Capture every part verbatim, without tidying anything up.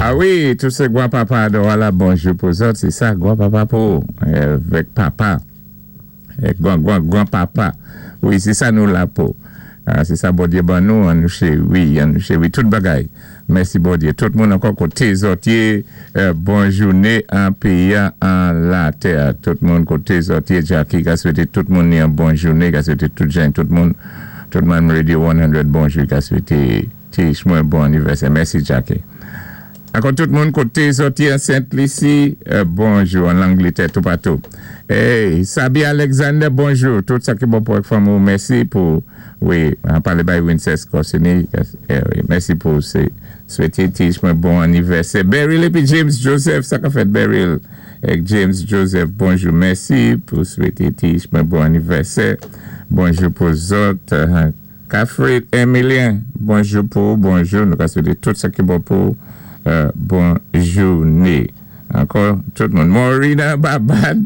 Ah wi, tout sé gwan-papa, wala, bonjou pou zòt, sé sa, gwan-papa pou, avèk papa, gwan, gwan, gwan-papa. Wi, sé sa nou la pou. Ah, sé sa Bondyé ban nou, an nou chéwi, an nou chéwi, tout bagay. Mèsi Bondyé. Tout moun ankò koté zòt yé, euh, bon jouné an péyi an latè. Tout moun koté zòt yé, Jackie, ka swété tout moun ni an bon jouné, ka swété tout jan, tout moun, tout moun Radio san, bonjou, ka swété Tish mwen bon anivèsè. Mèsi Jackie. Ankò tout moun koté zòt yé an Sent Lisi, euh, bonjou, an Langlétè, tout patou. Hey, Sabi Alexander, bonjou. Tout sa ki bon pou fanmi, mèsi pou, wi, an palé bay Wincest Corsini, eh, wi, mèsi pou sé, swété Tish mwen bon anivèsè. Beryl épi James Joseph, sa ka fèt Beryl èk James Joseph, bonjou, mèsi pou swété Tish mwen bon anivèsè. Bonjou pou zòt. Uh, Kafrit Emilien, bonjou pou, bonjou, nou ka swété tout sa ki bon pou euh, bon jouné. Ankò, tout moun. Maurina Babad,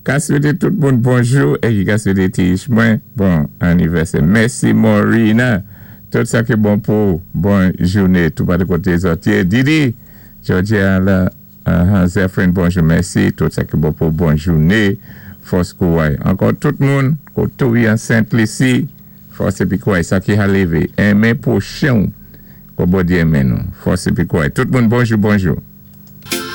ka swété tout moun bonjou é ki ka swété Tish mwen bon anivèsè. Mèsi Maurina. Tout sa ki bon pou bon jouné, tout patou koté zòt yé. Didi, Georgia la, uh, Zephyrin, bonjou, mèsi. Tout sa ki bon pou bon jouné. Fòs kouway. Ankò tout moun, koté ou an Sent Lisi, fòs épi kouway, sa ki ka lévé. Enmen pwochen, kon Bondyé enmen nou. Fòs épi kouway. Tout moun, bonjou, bonjou.